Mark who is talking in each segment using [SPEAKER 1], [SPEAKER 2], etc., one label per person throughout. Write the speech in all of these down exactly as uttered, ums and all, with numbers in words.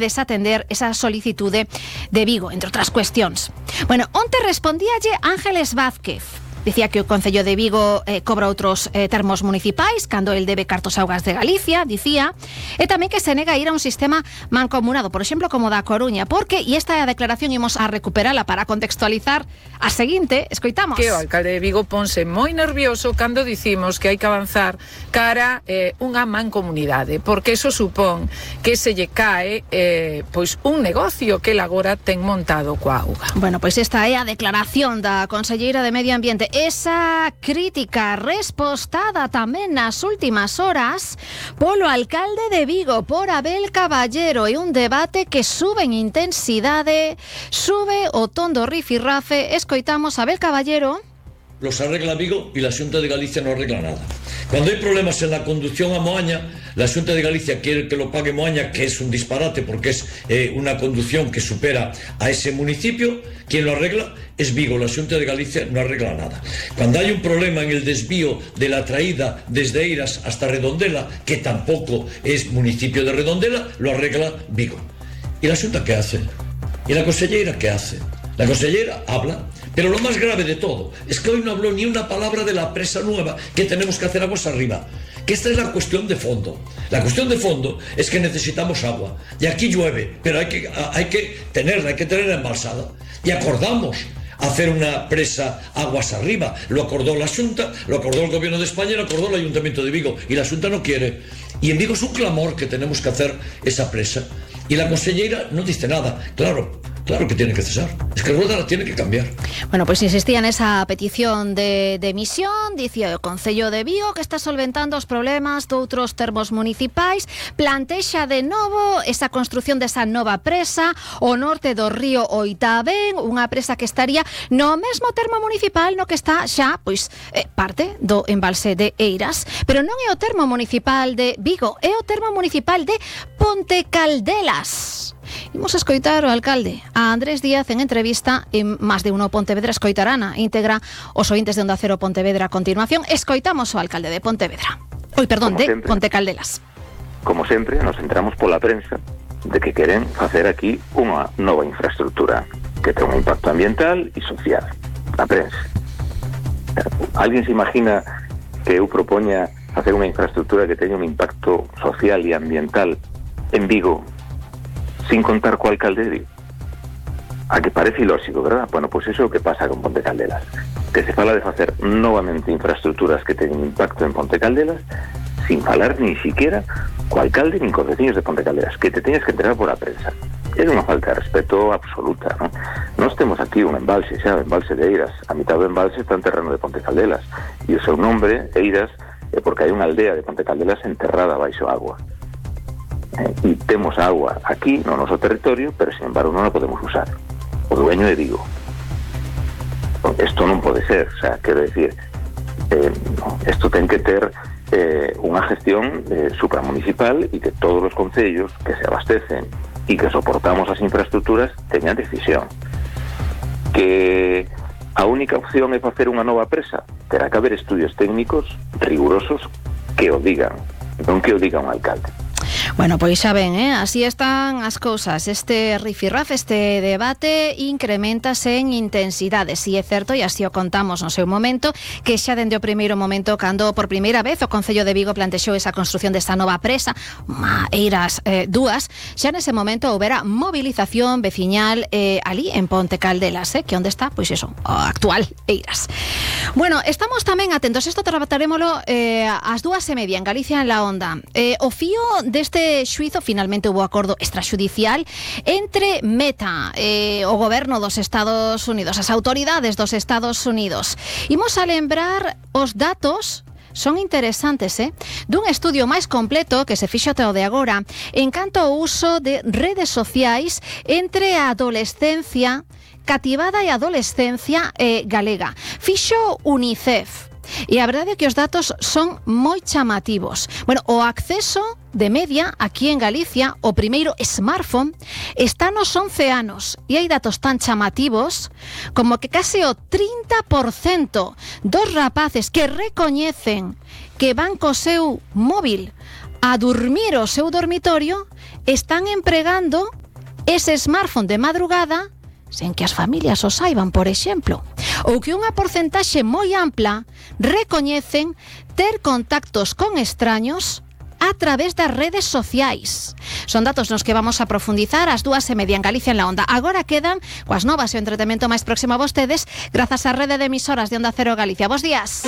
[SPEAKER 1] desatender esa solicitude de Vigo, entre outras cuestións. Bueno, onte respondíalle Ángeles Vázquez. Dicía que o Concello de Vigo eh, cobra outros eh, termos municipais cando el debe cartos augas de Galicia, dicía, e tamén que se nega a ir a un sistema mancomunado, por exemplo, como da Coruña, porque, e esta é a declaración, imos a recuperala para contextualizar a seguinte, escoitamos.
[SPEAKER 2] Que o alcalde de Vigo ponse moi nervioso cando dicimos que hai que avanzar cara eh, unha mancomunidade, porque eso supón que se lle cae eh, pois un negocio que el agora ten montado coa auga.
[SPEAKER 1] Bueno, pois esta é a declaración da conselleira de Medio Ambiente. Esa crítica respostada tamén nas últimas horas polo alcalde de Vigo, por Abel Caballero, e un debate que sube en intensidade, sube o ton do rifirrafe. Escoitamos a Abel Caballero.
[SPEAKER 3] Los arregla Vigo y la Xunta de Galicia no arregla nada. Cuando hay problemas en la conducción a Moaña, la Xunta de Galicia quiere que lo pague Moaña, que es un disparate porque es eh, una conducción que supera a ese municipio. Quien lo arregla es Vigo, la Xunta de Galicia no arregla nada. Cuando hay un problema en el desvío de la traída desde Eiras hasta Redondela, que tampoco es municipio de Redondela, lo arregla Vigo. ¿Y la Xunta qué hace? ¿Y la consellera qué hace? La consellera habla, pero lo más grave de todo es que hoy no habló ni una palabra de la presa nueva que tenemos que hacer aguas arriba. Que esta es la cuestión de fondo. La cuestión de fondo es que necesitamos agua. Y aquí llueve, pero hay que, hay que tenerla, hay que tenerla embalsada. Y acordamos hacer una presa aguas arriba. Lo acordó la Xunta, lo acordó el Gobierno de España y lo acordó el Ayuntamiento de Vigo. Y la Xunta no quiere. Y en Vigo es un clamor que tenemos que hacer esa presa. Y la consellera no dice nada. Claro, claro que tiene que cesar. Es que Rueda la tiene que cambiar.
[SPEAKER 1] Bueno, pues insistía en esa petición de, de emisión. Dicía o Concello de Vigo que está solventando os problemas de outros termos municipais. Plantexa de novo esa construción desa nova presa o norte do río Oitabén, unha presa que estaría no mesmo termo municipal no que está xa, pois, eh, parte do embalse de Eiras. Pero non é o termo municipal de Vigo, é o termo municipal de Pontecaldelas. Imos a escoitar o alcalde, a Andrés Díaz, en entrevista en Más de Uno Pontevedra. Escoitarán a íntegra os ointes de Onda Cero Pontevedra a continuación. Escoitamos o alcalde de Pontevedra. Oi, perdón, de Pontecaldelas.
[SPEAKER 4] Como sempre, nos entramos pola prensa de que queren facer aquí unha nova infraestructura que ten un impacto ambiental e social. A prensa. Alguén se imagina que eu propoña facer unha infraestructura que teña un impacto social e ambiental en Vigo sin contar co alcalde de Vigo? A que parece ilóxico, verdad? Bueno, pois pues iso é o que pasa con Pontecaldelas, que se fala de facer novamente infraestructuras que teñen impacto en Pontecaldelas sin falar ni siquiera co alcalde nin cos veciños de Pontecaldelas, que te teñas que enterar por a prensa. É unha falta de respeto absoluta, non? Nós temos aquí un embalse, xa, o embalse de Eiras. A mitad do embalse está en terreno de Pontecaldelas e o seu nombre, Eiras, é porque hai unha aldea de Pontecaldelas enterrada baixo agua. E temos agua aquí no noso territorio, pero sin embargo non a podemos usar. O dueño é Vigo. Isto non pode ser, o sea, quero decir, eh, isto ten que ter eh, unha gestión eh, supramunicipal e que todos os concellos que se abastecen e que soportamos as infraestructuras teñan decisión. Que a única opción é facer unha nova presa, terá que haber estudios técnicos rigurosos que o digan, non que o diga un alcalde.
[SPEAKER 1] Bueno, pois xa ven, eh? Así están as cousas. Este rifirraf, este debate incrementase en intensidade. Si é certo, e así o contamos no seu momento, que xa dende o primeiro momento, cando por primeira vez o Concello de Vigo plantexou esa construción desta nova presa, Eiras eh, dúas, xa nese momento houbera movilización veciñal eh, ali en Pontecaldelas, eh? Que onde está, pois eso, o actual Eiras. Bueno, estamos tamén atentos, isto trabataremoslo eh, ás dúas e media en Galicia en la Onda. Eh, o fío deste xuizo, finalmente hubo acordo extrajudicial entre Meta, eh, o goberno dos Estados Unidos, as autoridades dos Estados Unidos. Imos a lembrar os datos. Son interesantes, eh? Dun estudio máis completo que se fixo até o de agora en canto ao uso de redes sociais entre a adolescencia cativada e a adolescencia eh, galega. Fixo UNICEF. E a verdade é que os datos son moi chamativos. Bueno, o acceso de media aquí en Galicia, o primeiro smartphone, está nos once anos. E hai datos tan chamativos como que case o trinta por cento dos rapaces que recoñecen que van co seu móvil a dormir o seu dormitorio están empregando ese smartphone de madrugada sen que as familias o saiban, por exemplo, ou que unha porcentaxe moi ampla recoñecen ter contactos con extraños a través das redes sociais. Son datos nos que vamos a profundizar ás dúas e media en Galicia en la Onda. Agora quedan coas novas e o entretemento máis próximo a vostedes grazas á rede de emisoras de Onda Cero Galicia. Bos días.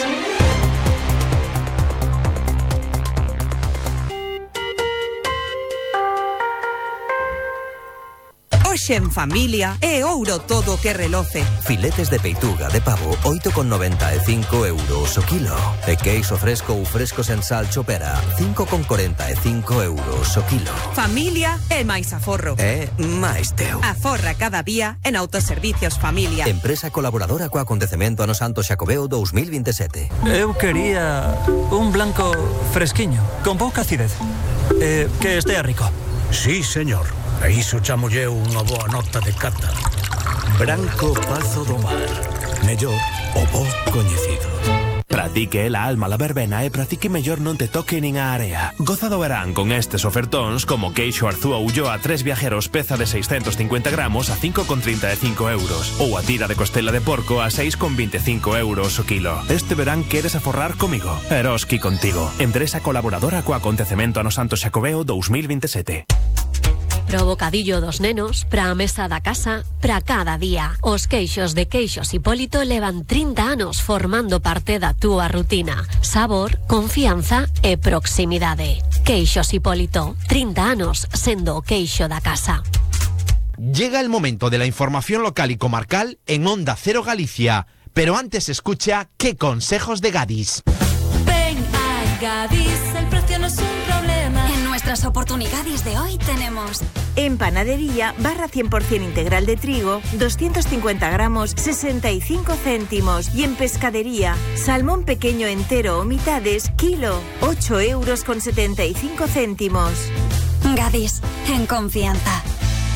[SPEAKER 5] Hoxe en familia é ouro todo que reloce.
[SPEAKER 6] Filetes de peituga de pavo oito con noventa e cinco euros o kilo. E queixo fresco ou fresco sen sal chopera cinco con corenta e cinco euros o kilo.
[SPEAKER 5] Familia é máis aforro.
[SPEAKER 6] É máis teu.
[SPEAKER 5] Aforra cada día en Autoservicios Familia.
[SPEAKER 6] Empresa colaboradora co acontecemento ano Santo Xacobeo dos mil veintisiete.
[SPEAKER 7] Eu quería un blanco fresquiño, con pouca acidez. Eh, que estea rico.
[SPEAKER 8] Sí, señor. A iso chamolle unha boa nota de cata. Branco Pazo do Mar. Mellor o bo coñecido.
[SPEAKER 9] Pratique la alma la verbena e pratique mellor non te toque nin a area. Goza do verán con estes ofertóns como queixo Arzúa Ulloa tres viajeros peza de seiscentos cincuenta gramos a cinco con trinta e cinco euros ou a tira de costela de porco a seis con vinte e cinco euros o kilo. Este verán queres aforrar comigo? Eroski contigo. Empresa colaboradora co acontecemento ano Santo Xacobeo dos mil veintisiete.
[SPEAKER 10] Pro bocadillo dos nenos, pra a mesa da casa, pra cada día. Os queixos de Queixos Hipólito levan trinta anos formando parte da túa rutina. Sabor, confianza e proximidade. Queixos Hipólito, trinta anos sendo o queixo da casa.
[SPEAKER 11] Llega el momento de la información local y comarcal en Onda Cero Galicia. Pero antes escucha qué consejos de Gadis.
[SPEAKER 12] Ven a Gadis, el precio no es un problema.
[SPEAKER 13] En nuestras oportunidades de hoy tenemos...
[SPEAKER 14] En panadería, barra cien por ciento integral de trigo, doscientos cincuenta gramos, sesenta y cinco céntimos. Y en pescadería, salmón pequeño entero o mitades, kilo, ocho euros con setenta y cinco céntimos.
[SPEAKER 13] Gadis, en confianza.